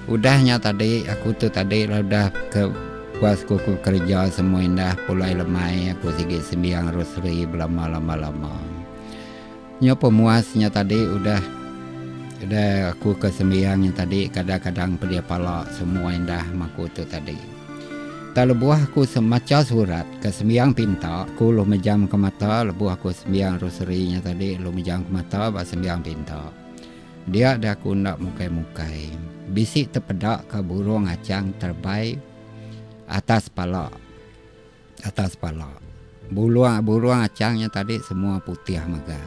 Udah nya tadi aku tu tadi lalu udah ke puas ku ku kereja semua indah pulai lemai aku sigi sembiang rosary belama lama lama. Nyo pemuas nya tadi udah udah aku ke sembiang nya tadi kadang kadang pedih pala semua indah meh aku tu tadi. Tang lebuh aku macha surat ke sembiang pinta aku lalu mejam ke mata lebuh aku sembiang rosary nya tadi lalu mejam ke mata ba sembiang pinta. Dia deh aku enda mukai-mukai. Bisi tepeda ka burung achang terebai atas pala. Atas pala. Bulung burung achang nya tadi semua putih mega.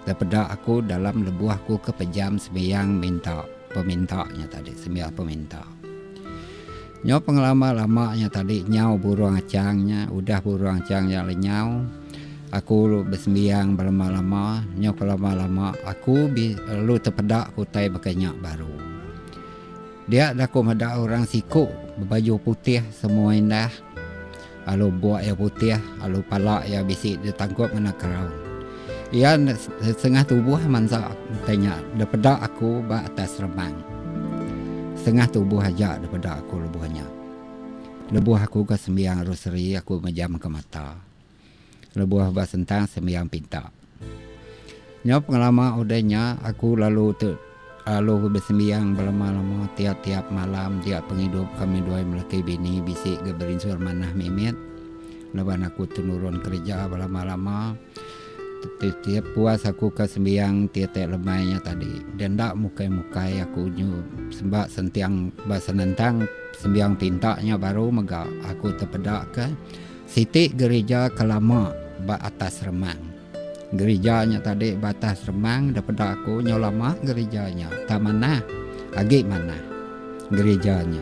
Tepeda aku dalam lebuh aku ke pejam sembiang minta peminta nya tadi sembiang peminta. Nyau pengelama lama nya tadi nyau burung achang nya udah burung achang nya lenyau aku besembiang belama lama nyau kelama lama aku lalu tepeda ke utai baka nya baru. Dia da aku meda orang siku bebaju putih semua indah lalu buk iya putih lalu pala iya bisi ditangkup ngena crown. Iya setengah tubuh mansa utai nya dipeda aku ba atas remang. Setengah tubuh aja dipeda aku lebuh nya. Lebuh aku ke sembiang rosary aku mejamka mata. Lebuh ba sentang sembiang pinta. Nyau pengelama udah nya aku lalu te lalu besembiang belama-lama tiap-tiap malam tiap pengidup kami duai melaki bini bisi ga berinsur manah mimit laban aku tu nurun kereja belama-lama. Tiap puas aku ke sembiang tiap-tiap lemai nya tadi. Dia enda mukai-mukai aku nyu ba sentiang ba senentang sembiang pinta nya baru mega aku tepeda ke siti gerija ke lama ba atas remang. Gerija nya tadi ba atas remang da peda aku nyau lama gerija nya tak manah agi manah gerija nya.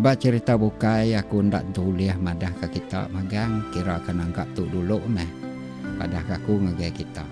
Ba cherita bukai aku enda tentu ulih madah ka kita magang kira ka nangka tu dulu meh padah ka aku ngagai kita.